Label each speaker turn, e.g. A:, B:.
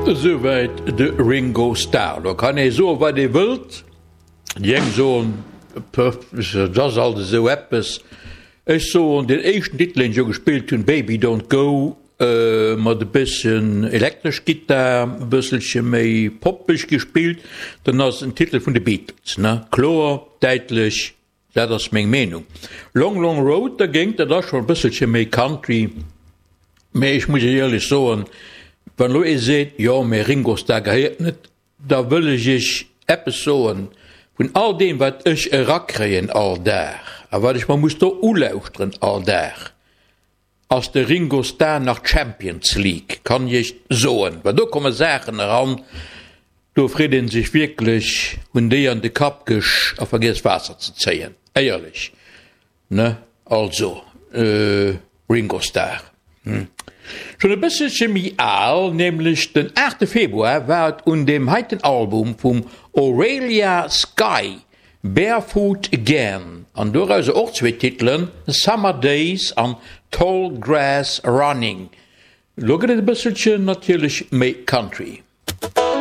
A: Esouwäit de Ringo Starr. Do kann ee soen, wat ee wëllt. Déi eng soen, Pff, dat ass alt esou eppes. Ech soen, deen éischten Titel, deen ech jo gespillt hunn, Baby Don't Go, mat e bësschen elektresch Gittar, e bësselche méi poppeg gespillt, dann ass en Titel vun de Beatles, ne? Kloer, däitlech, dat ass meng Meenung. Long Long Road dergéint, dat ass schonn e bësselche méi Country, mee ech muss Iech éierlech soen, wann elo ee seet, jo, mee Ringo Starr gehéiert net, da wëll ech Iech eppes soen, Vun all deem, wat ech erakréien all Dag a wat ech mer muss do ulauschteren all Dag, ass de Ringo Starr nach Champions League, kann ech iech soen, well do komme Saachen eran, do freet een sech wierklech, hunn déi an de Kapp gesch a vergiess Waasser ze zéien, éierlech, ne? Also, Ringo Starr, hm, schonn e bësselche méi al, nämlech den 8 Februar war et un deem heiten Album vum Aurelia Sky Barefoot Again, an dorauser och zwee Titelen, Summer Days an Tall Grass Running. Lo gëtt et e bësselchen natierlech méi Country.